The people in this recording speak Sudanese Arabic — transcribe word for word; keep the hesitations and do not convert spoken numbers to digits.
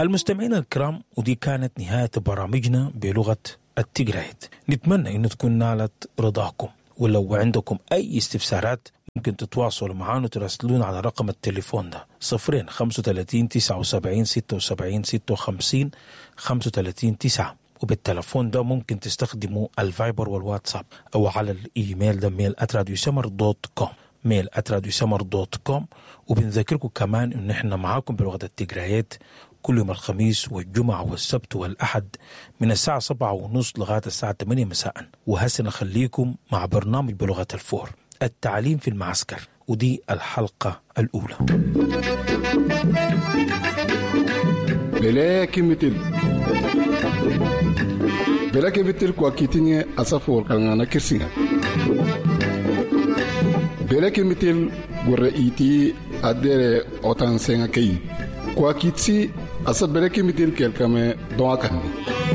المستمعين الكرام، ودي كانت نهاية برامجنا بلغة التجرايت. نتمنى أن تكون نالت رضاكم، ولو عندكم أي استفسارات ممكن تتواصلوا معنا وتراسلونا على رقم التليفون ده صفرين خمسة وتلاتين تسعة وسبعين ستة وسبعين ستة وخمسين خمسة وتلاتين تسعة، وبالتلفون ده ممكن تستخدموا الفايبر والواتساب، أو على الإيميل ده mail at radio سمر dot com، mail at radio سمر dot com. وبنذكركم كمان إن إحنا معاكم بلغة التجرايات كل يوم الخميس والجمعة والسبت والأحد من الساعة سبعة ونص لغاية الساعة ثمانية مساء. وهسه نخليكم مع برنامج بلغة الفور، التعليم في المعسكر، ودي الحلقة الأولى. بلاكي متل بلاكي متل كواكيتيني أسافور كان كرسينا بلاكي متل غوريتي أدير أوتان سينكي كواكيتسي أسا بلاكي متل كالكامي دواكاني.